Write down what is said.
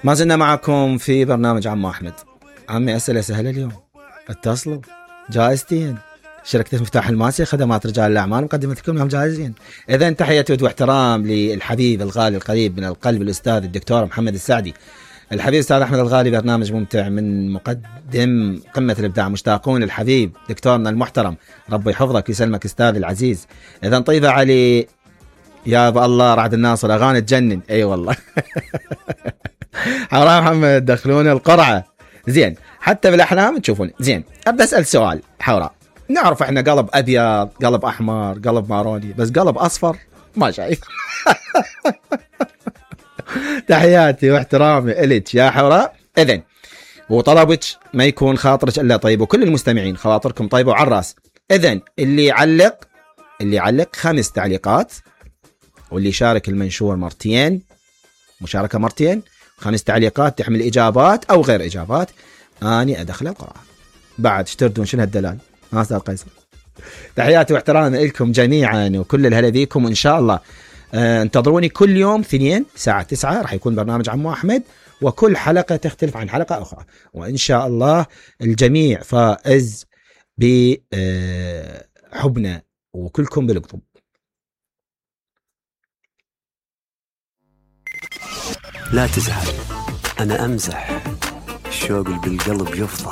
ما زلنا معكم في برنامج عمو أحمد. عمي أسئلة سهلة اليوم، اتصلوا. جائزتين، شركة مفتاح الماسي، خدمات رجال الأعمال، مقدمتكم لهم جائزين. إذن تحية واحترام للحبيب الغالي القريب من القلب الأستاذ الدكتور محمد السعدي. الحبيب أستاذ أحمد الغالي برنامج ممتع من مقدم قمة الإبداع. مشتاقون الحبيب دكتورنا المحترم، ربي يحفظك ويسلمك أستاذ العزيز. إذن طيبة علي يا أبا الله رعد الناصر، أغاني تجنن. أي والله. حوراء محمد دخلون القرعة. زين، حتى بالأحلام تشوفون. زين، أبدأ أسأل سؤال. حوراء، نعرف إحنا قلب أبيض، قلب أحمر، قلب ماروني، بس قلب أصفر ما شايف. تحياتي واحترامي إليك يا حوراء. إذن وطلبك ما يكون خاطرك إلا طيب، وكل المستمعين خواطركم طيبة وعلى الراس. إذن اللي يعلق 5 تعليقات، واللي يشارك المنشور مرتين، مشاركة مرتين، 5 تعليقات تحمل إجابات أو غير إجابات، أني أدخل القراءة. بعد اشتردون شنو هالدلال؟ أستاذ قيصر. تحياتي واحترامي لكم جميعا وكل الهلا بيكم، وإن شاء الله انتظروني كل يوم 2 الساعة 9 راح يكون برنامج عمو أحمد، وكل حلقة تختلف عن حلقة أخرى، وإن شاء الله الجميع فائز بحبنا وكلكم بالقطب. لا تزعل، أنا أمزح، الشوق اللي بالقلب يفضح.